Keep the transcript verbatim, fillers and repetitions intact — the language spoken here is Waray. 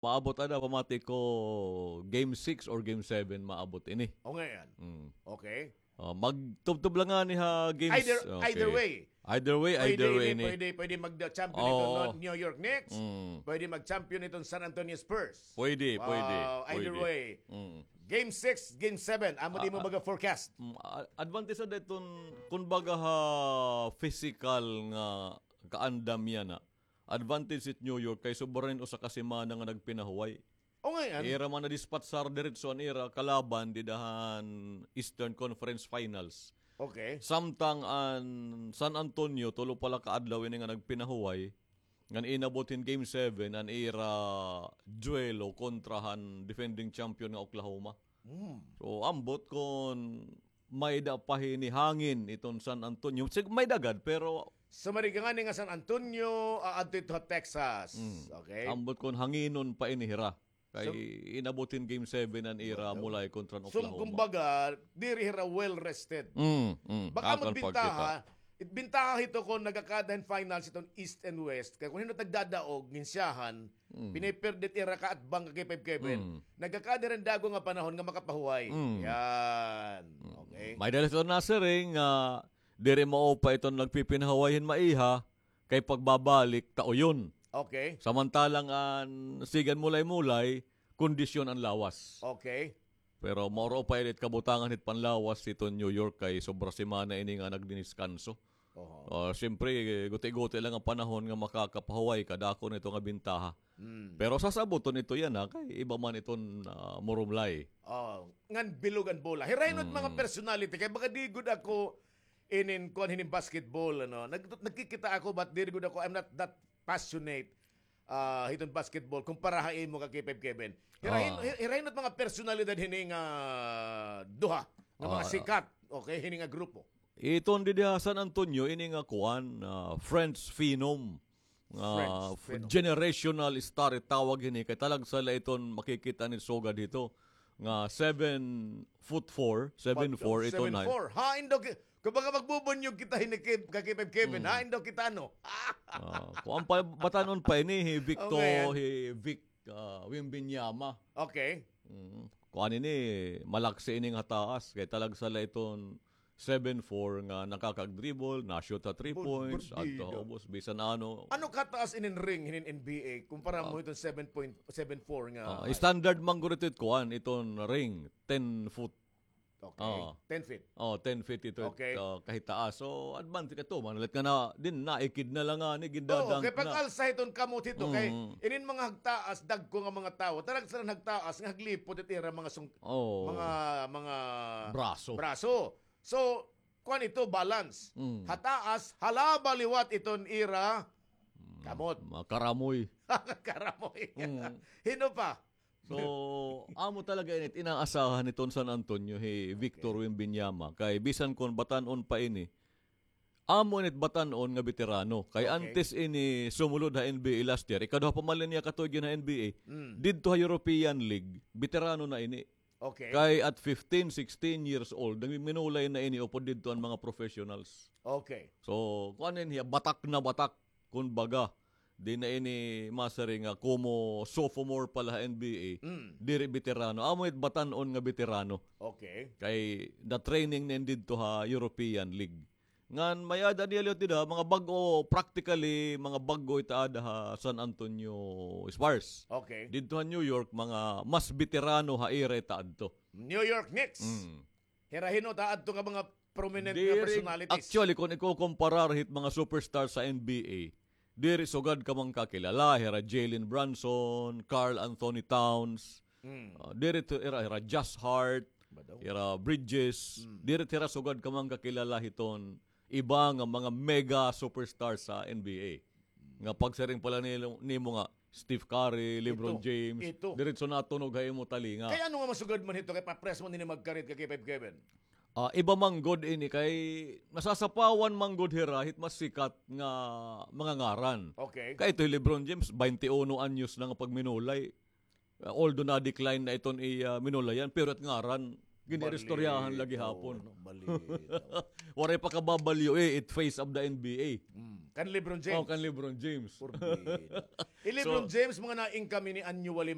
maabot ada, pamati ko game six or game seven maabot ini. O, ngayon. Mm. Okay. Ah, magtubtob la ngani ha games. Either- Okay. either way. Either way, Pwede either way ini, ini. pwede, pwede mag-champion Oo. ito New York Knicks. Mm. Pwede mag-champion itong San Antonio Spurs. Pwede, pwede. Ah, either pwede. way. Mm. Game six, game seven. Amo di mo Ah, baga forecast. Mm, a- advantage sa dayton, kun baga ha physical nga kaandam yana. Advantage it New York kay sobra na usa ka semana nga nagpinahuway. O, ngayon. Ira man na-dispatch sa diretso an ira kalaban dida han Eastern Conference Finals. Okay. Samtang an San Antonio, tulo pa la ka adlaw ini nga nagpinahuway, ngan inabot hin game seven an ira duelo kontra han defending champion nga Oklahoma. Hmm. So, ambot kon may-ada pa hini hangin iton San Antonio. Sig-, may-ada gad, pero So, marigangani nga San Antonio, ah, adto ito ha Texas. Mm. Okay. Ambot kon hanginon pa ini hira. Kay So- inabot hin game seven an ira mulay kontra an So, Oklahoma. kumbaga, diri hira well rested. Mm, mm. Baka Akon magbintaha. It bintaha hito kon nagakada hin finals iton East and West. Kay kon hin-o nagdadaog, nginsyahan, Mm. piniperdit ira ka atbang ka K five Kevin. Mm. Nagakada hin dago nga panahon nga makapahuway. Mm. Yan. Okay. May-ada la ito nasiring nga diri maupa iton nagpipinahuway hin maiha kay pagbabalik tauyon. Okay. Samantalang an sigan mulay-mulay, kondisyon an lawas. Okay. Pero mauro pa init kabutangan hit panlawas hiton New York kay sobra semana ini nga nagdiniskanso. Oho. Ah, siyempre, guti-guti lang an panahon nga makakapahuway ka, dako na ito nga bintaha. Mm. Pero sasabuton ito yana, kay iba man iton, ah, murumlay. Oh, ngan bilog an bola. Hira hin-o it mga Mm. personality. Kay baga di gud ako inin kuan hinin basketball, ano. Nag-, nagkikita ako, but diri gud ako, I'm not that passionate, ah, hiton basketball kumpara ha imo ka K five Kevin. Hira hin-, Ah. hira hin-o it mga personalidad hini nga duha, nga mga Ah. sikat, okay, hini nga grupo. Iton didi ha San Antonio, ini nga kuan, ah, French Phenom. Ah, French Phenom. Generational star it tawag hini. Kay talagsa la iton makikita ni sugad hito. Nga seven foot four, seven four iton height. Seven four. Hain daw ki-, kumbaga magbubunyog kita hini kay, kay Kevin. Mm. Hain daw kita, ano? Ah, kuan pa, batan-on pa ini, hi Victor, Okay, yan. hi Vic, ah, Wembanyama. Okay. Mm. Kuan ini, malaksi ini nga taas. Kay talagsa la iton seven four nga nakakag-dribble, na-shoot ha three Bud-, points, budbida. Adto ha ubos, bisan ano. Ano kataas inin ring hinin N B A kumpara mo iton seven point seven four nga Ah, standard man gud ito it kuan, iton ring, ten foot. Okay. Ah. Ten feet. Oh, ten feet ito, Okay. ah, kahitaas. So, advantage ka to, man. Let ka na, din naikid na lang nga, ni Oo, gindadang kay na. pag-alsa hiton kamot hito, kay Mm. inin mga hagtaas, dagko nga mga tawo, tarag sila hagtaas, nga haglipot it ira mga sung-, Oh. mga, mga Braso. braso. So, kuan ito, balance. Mm. Hataas, halaba liwat iton ira, kamot. Mga karamoy. Karamoy. Mm. Hin-o pa? So, amo talaga init, inaasahan hiton San Antonio, hi Victor Wembanyama. Kay bisan kon batan-on pa ini, amo init batan-on nga beterano. Kay Okay. antes ini sumulod ha N B A last year, ikaduha pa man la niya katuig ha N B A, Mm. didto ha European League, beterano na ini. Okay. Kay at fifteen, sixteen years old, nagminulay na ini upod didto an mga professionals. Okay. So, kuan ini hiya, batak na batak, kun baga. Di na ini masiring nga kumo sophomore pa la ha N B A, Mm. diri beterano. Amo it batan-on nga beterano. Okay. Kay na-training na ini didto ha European League. Ngan may-ada niya liwat dida, mga bag-o, practically, mga bag-o it aada ha San Antonio Spurs. Okay. Didto ha New York, mga mas beterano ha ira it aadto. New York Knicks. Mm. Hira hin-o it aadto nga mga prominent nga Diri, personalities. actually, kung ikukumparar hit mga superstars sa N B A, diri sugad ka man kakilala, hira Jalen Brunson, Karl Anthony Towns, Mm. ah, diri to, hira, hira Josh Hart, Ba daw? hira Bridges, Mm. diri hira sugad ka man kakilala hiton iba nga mga mega superstars sa N B A. Nga pagsiring pa la nilo, nimo nga Steph Curry, LeBron Ito, James, ito. diretso natunog ha imo talinga. Kay ano nga masugad man hito kay papres man ini magkarit kay K five Kevin? Ah, iba man gud ini kay nasasapawan man gud hira hit mas sikat nga mga ngaran. Okay. Kay ito hi LeBron James, twenty-one anyos na nga pagminulay. Ah, although na-decline na iton iya minulayan, pero it ngaran, Giniristoryahan lagi hapon. Balitaw, no? Balitaw. Waray pa kababalyo eh, it face of the N B A. Hmm. Kan LeBron James. Oh, kan LeBron James. Porbida. Eh, LeBron James, mga naingkami ni annually,